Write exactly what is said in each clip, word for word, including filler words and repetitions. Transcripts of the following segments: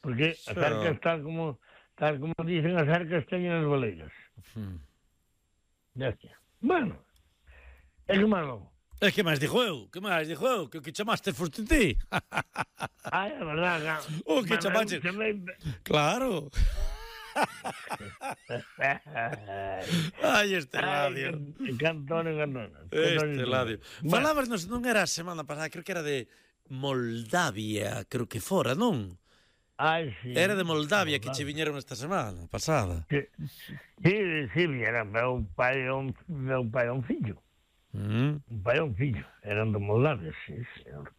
porque as Xa. arcas, tal como tal como dicen, as arcas teñen as baleiras. Hmm. Ya está. Bueno, é que malo. É que máis dixo eu? Que máis dixo eu? Que o que chamaste foste ti? Ai, é verdade. O que Bueno, chamaste? eu chamei... Claro. Ai, este Ai, Ladio. que cantone, cantone. Este Ladio. Bueno, Falábamos, non era a semana pasada, creo que era de Moldavia, creo que fora, non? ai, sí. Era de Moldavia que che Moldavia. viñeron esta semana pasada. Sí, sí, sí, era meu pai e un, meu pai e un fillo. Mm. Un pai e un fillo. Eran de Moldavia, sí, señor.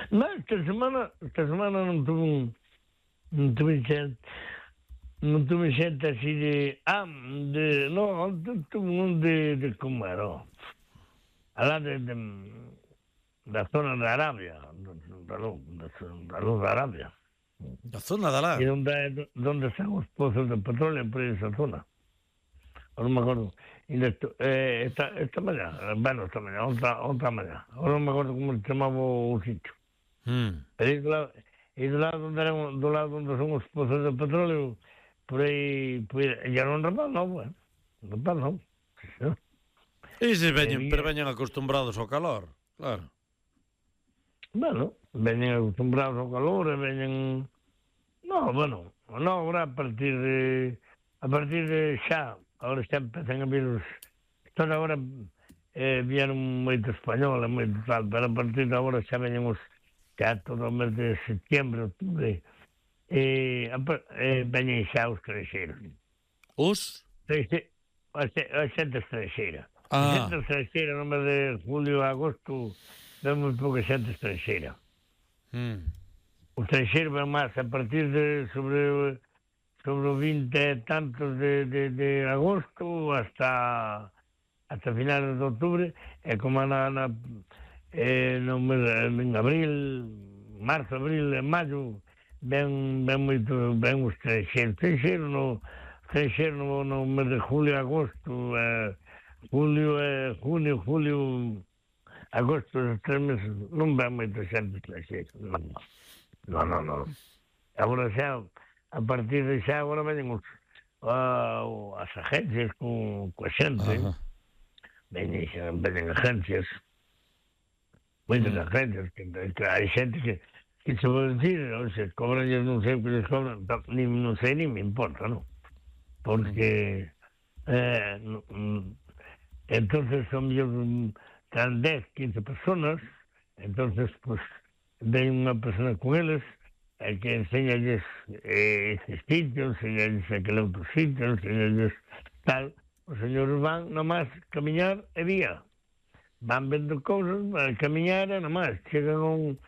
No, esta semana, esta semana non tuve un... Non tuve xente... Non tuve xente así de... Ah, de... No, tuve un de... de como era? Alá de... de da zona de Arabia. Da luz, da luz de Arabia. A zona da lá. E onde, donde están os pozos de petróleo por esa zona. Ahora non me acordo. E nesto, eh, esta, esta mañá, bueno, esta mañá, outra, outra mañá. Ahora non me acordo como se chamaba o sitio. Mm. E do lado, e do lado onde eran, do lado onde son os pozos de petróleo, por aí, por aí, ya non rapaz, non, bueno. Rapaz, non. E se veñen, Eh, pero veñen acostumbrados ao calor, claro. Bueno, veñen acostumbrados ao calor e veñen... No, bueno, no, ahora a partir de... A partir de xa, agora xa empezan a vir os... Toda agora eh, vieron moito español e moito tal, pero a partir de agora xa veñen os... Xa todo o mes de setembro, octubre, e eh, veñen xa os creixeiros. Os? Crexe, a, a xente estranxeira. Ah. A xente estranxeira no mes de julio e agosto ven moi pouca xente estranxeira. Mm. O estranxeiro ven máis a partir de sobre sobre o vinte e tantos de, de, de agosto hasta hasta finales de outubro, e como na, na eh, no mes, en abril, marzo, abril e maio ven, ven moito, ven o estranxeiro. Estranxeiro no, estranxeiro no, no mes de julio e agosto, eh, julio e junio, julio, agosto, os tres meses, non ven moito xente estranxeiro. Non, non, non. non. Agora xa, a partir de xa, agora veñen os, uh, as agencias con, con xente. Ajá. Veñen, xa, veñen agencias. Moitas Mm. agencias. Que, que hai xente que, que se pode decir, ou se cobran, non sei o que les cobran, ni, non sei, ni me importa, non? Porque, eh, no, entonces son mellor tan dez, quince personas, entonces, pues, ven unha persona con eles, e que enseñalles eh, ese sitio, enseñalles aquele outro sitio, enseñalles tal. Os señores van nomás camiñar e vía. Van vendo cousas, van camiñar e nomás. Chegan a un...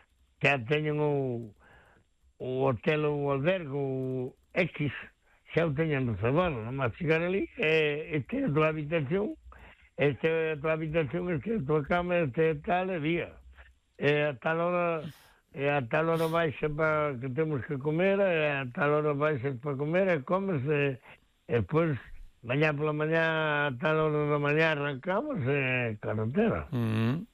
xa teñen o, o hotel ou o albergue, o X, xa o teñen reservado. Nomás chegar ali, e este é a tua habitación, este é a tua habitación, este é a tua cama, este é tal, e vía. E a tal hora... E a tal hora baixa para que temos que comer, e a tal hora baixa para comer, e comes, e, e depois, mañá pola mañá, a tal hora da mañá arrancamos, e carretera. Mm.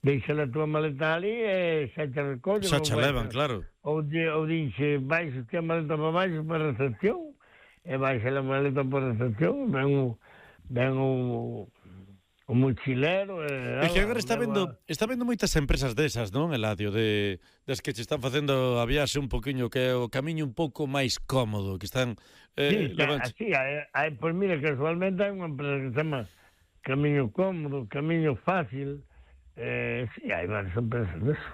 Deixa a tua maleta ali, e xa te recollen. Xa che levan, claro. Ou, di, ou dixe, baixa a maleta para baixo para a recepción, e baixa a maleta para a recepción, ven o, ven o, o mochilero. É que agora está vendo, está vendo moitas empresas desas, non, Eladio, de das que che están facendo a viaxe un poquinho, que é o camiño un pouco máis cómodo, que están Sí, eh, xa, así, hai, hai, pois mira, casualmente hai unha empresa que se chama Camiño Cómodo, Camiño Fácil, eh, sí, hai varias empresas deso.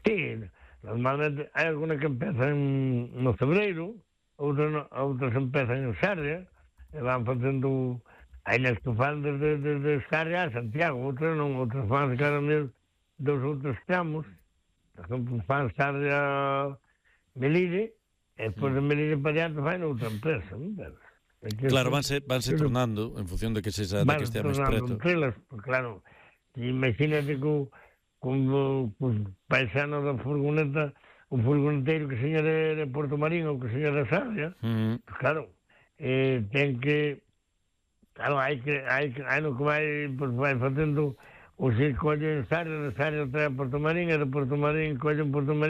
Sí, normalmente hai alguna que empezan no Cebreiro, outras, no, outras empezan en Sarria, e van facendo... Hai nas que fan desde, desde Sarria a Santiago, outras non, outras fan cada mes dos outros tramos. Por exemplo, fan Sarria Melide, e depois de Melide para diante fan outra empresa, non? Claro, vanse, vanse tornando en función de que se de que estea máis preto. Entrelas, pues, claro, imagínate que o paisano da furgoneta, o furgoneteiro que seña de, de Porto Marín ou que seña de Sarria, Mm. pues, claro, eh, ten que... Claro, hai que, hai que, hai no que vai, pues, vai facendo o se colle en Sarria, de Sarria trae a Porto Marín, e de Porto Marín colle en Porto Marín